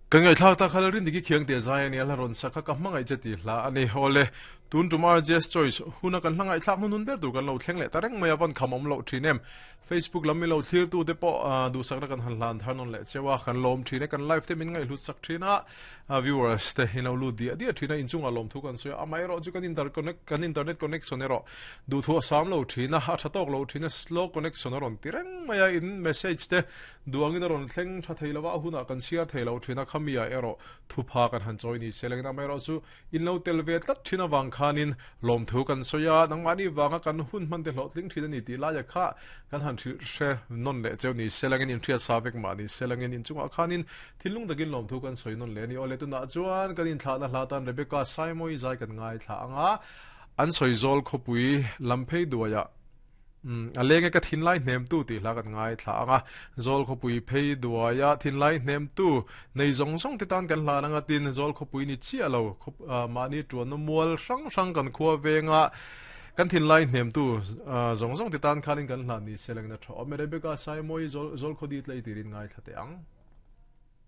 Kan ngaihthlak tak kha Lalrindiki Khiangte zai a nia, hla rawn sak kha ka hmangaih che tih hla a ni. Awle, tun tum RJS Choice huna kan hla ngaihthlak hnunhnun ber tur kan lo thleng leh ta reng mai a, van kham awm loh thin em. Facebook lam milo thlir tu te pawh duhsakna kan han hlan thar nawn leh cheu a, kan lawm thin e, kan live te min ngaihhlut sak thin a, viewers te in lo lut diah diah thin a, inchungah lawmthu kan sawi a, amaherawh chu kan interconnect kan internet connection erawh duhthu a sam lo thin a, a tha tawk lo thin a, slow connection a rawn ti reng mai a, in message te Duh angin a rawn thleng tha thei lo a, a hunah kan chhiar thei lo thin a, khami ah erawh thupha kan han chawi ni se lengin amaherawh chu in lo tel ve tlat thin avang khanin lawmthu kan sawi a, nangmahni vanga kan hun hman te hlawhtling thin a ni tih laia kha kan han hrilh hre nawn leh cheu ni se lengin inhriat sa vek mah ni se lengin inchungah khanin thinlung takin lawmthu kan sawi nawn leh a ni. Awle tunah chuan kan inthlahna hla tan Rebecca Saimawii zai kan ngaithla ang a, an sawi zawl khawpui lam phei duaiah Umm, a leng e ka thinlai hnemtu tih hla kan ngaithla ang a, Zawl khawpui phei duaia thinlai hnemtu nei zawng zawng te tan kan hlan ang a, tin Zawl khawpui ni chiah lo, mahni tuanna mual hrang hrang kan khua venga kan thinlai hnemtu zawng zawng te tan khanin kan hlan ni se langin a tha awm e. Rebecca Saimawii Zawl Khawdi tlei tirin ngaithla teh ang.